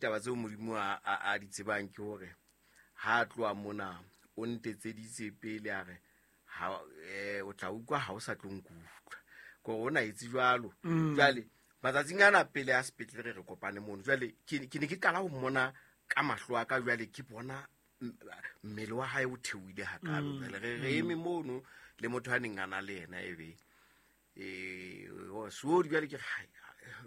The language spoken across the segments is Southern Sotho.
Taba tseo Modimo a di tsebang ke hore ha a tloha mona o ntetseditse pele a re ha o tla utlwa ha o sa tlo nkutlwa, kore o na etse jwalo. Jwale matsatsing ana pele a sepetlele re re kopane mono, jwale ke ne ke qala ho mmona ka mahlo a ka, jwale ke bona mmele wa hae o theohile hakalo. Jwale re eme mono le motho a neng a na le yena ebe seodi, jwale ke re, hai,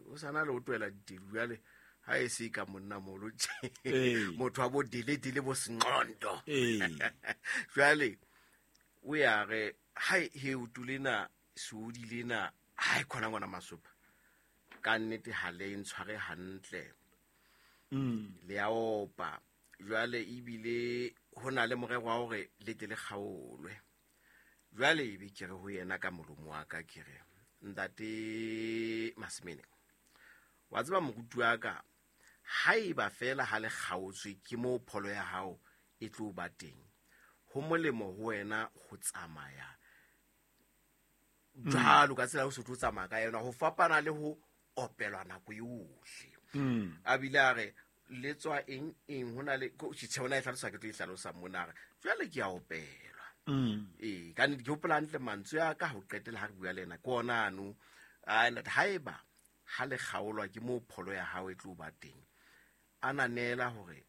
o sana le o twela ditedu jwale ha e se ka monna molo tje. Motho wa bo dele dele bo senqondo. Jwale o ya re hai he o tulena seodi lena ha e khona ngwana masopa ka nnete ha le ntshware hantle. Le a opa jwale ebile ho na le morero wa hore le tle le kgaolwe. Jwale ebe ke re ho yena ka molomo wa ka ke re ntate Masemene, wa tseba moruti wa ka, haeba fela ha le kgaotswe ke moo pholo ya hao e tlo ba teng, ho molemo ho wena ho tsamaya jwalo ka tsela o se tlo tsamaya ka yona, ho fapana le ho opelwa nako yohle. A bile a re le tswa eng eng, ho na le ko tjhe, ona e hlalosa, ke tlo e hlalosa mona, a re jwale ke a opelwa. Ka nnete ke hopola hantle mantswe a ka ho qetela ha re bua le yena ke ona ano. A ntate, haeba ha le kgaolwa ke moo pholo ya hao e tlo ba teng, a nanela hore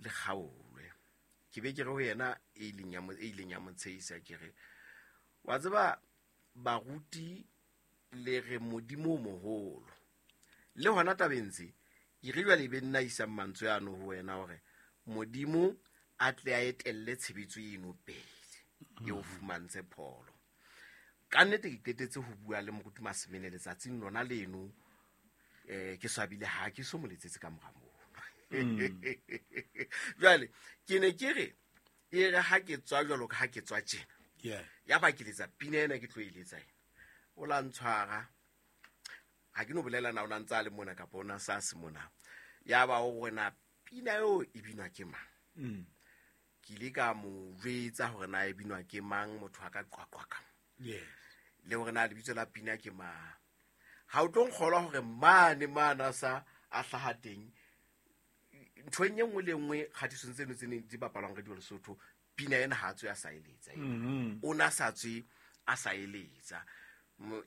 le kgaolwe. Ke be ke re ho yena e ileng ya mo, e ileng ya mo tshehisa, ke re wa tseba baruti le re Modimo o moholo, le hona tabeng tse ke re jwale e be nna isang mantswe ano ho wena hore Modimo a tle a etelle tshebetso eno pele e o fumantshe pholo. Ka nnete ke qetetse ho bua le moruti Masemene letsatsing lona leno, ke swabile ha ke so mo letsetse ka mora moo. Jwale ke ne ke re e re ha ke tswa jwalo ka ha ke tswa tjena, ya ba ke letsa pina ena ke tlo e letsa ena, o la ntshwara, ha ke no bolela na o na ntse a le mona kapa o na sa se mona, ya ba o re na pina eo e binwa ke mang? Ke ile ka mo jwetsa hore na e binwa ke mang, motho a ka qwaqwa ka. Le hore na lebitso la pina ke mang. Ha o tlo nkgolwa hore mane mane a sa a hlaha teng, nthong e nngwe le e nngwe kgatisong tseno tse neng di bapalwang Radio Lesotho, pina ena ha a tswe a sa e letsa. O na sa tswe a sa e letsa.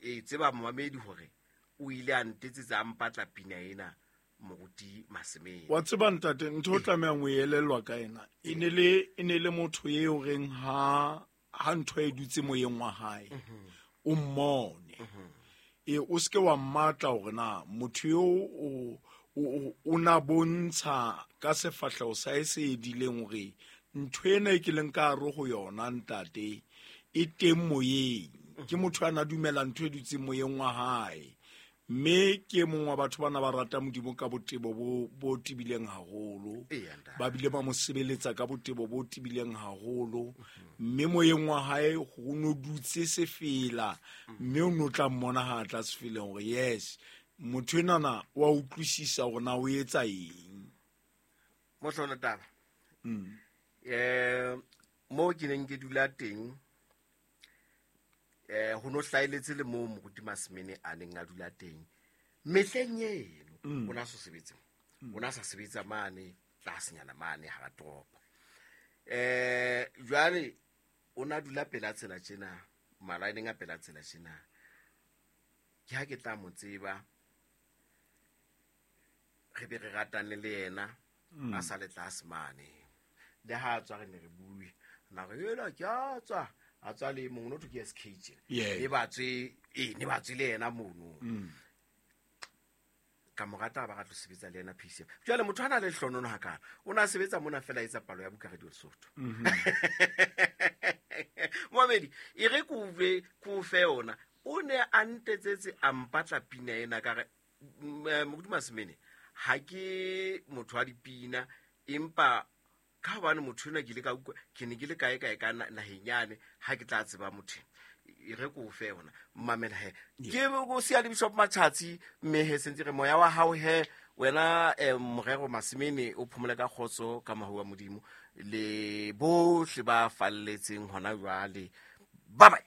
E tseba momamedi hore o ile a ntetsetsa a mpatla pina ena moruti Masemene. Wa tseba ntate, ntho o tlamehang ho elellwa ka ena, e ne le, e ne le motho eo reng ha ntho e dutse moyeng wa hae, o mmone. E, o seke wa mmatla hore na motho eo o na bontsha ka sefahleho sa hae se edileng hore ntho ena e ke leng ka hare ho yona ntate e teng moyeng. Ke motho a na dumela ntho e dutseng moyeng wa hae. Mme ke e mong wa batho bana ba rata Modimo ka botebo bo tebileng haholo. Eya, ntate. Ba bile ba mo sebeletsa ka botebo bo tebileng haholo. Mme moyeng wa hae ho no dutse sefela, mme o no tla mmona ha a tla sefeleng hore yes, motho enana wa utlwisisa hore na o etsa eng. Mohlolo taba. Mo ke neng ke dula teng, ho no hlaeletse le moo moruti Masemene a neng a dula teng mehleng eno. O na so sebetse, o na sa sebetsa mane tlasenyana mane hara toropo. Jwale o na dula pela tsela tjena, malaeneng a pela tsela tjena. Ke ha ke tla mo tseba, re be re ratane le yena, a sa le tlase mane. Le ha a tswa re ne re bue, na re ela ke a tswa, a tswa le mongwe, no thwe ke SK tjena. Ne ba tswe, ee, ne ba tswe le yena mono. Ka mo rata ba ra tlo sebetsa le yena PCM. Jwale motho a na le hlonono hakana, o na sebetsa mona fela a etsa palo ya buka Radio Lesotho. Moamedi, e re ke utlwe, ke o fe yona. O ne a ntetsetse a mpatla pina ena ka re, Moruti Masemene, ha ke motho wa dipina, empa ka hobane motho enwa ke ile ka utlwa, ke ne ke le kae kae ka naheng yane, ha ke tla tseba motho e re ko fe yona. Mamela he. Ke go sia le Bishop Matjhatsi, mme he sentse re moya wa hao he, wena, Morero Masemene, o phomole ka kgotso ka mohau wa Modimo le bohle ba falletseng hona jwale. Bye bye.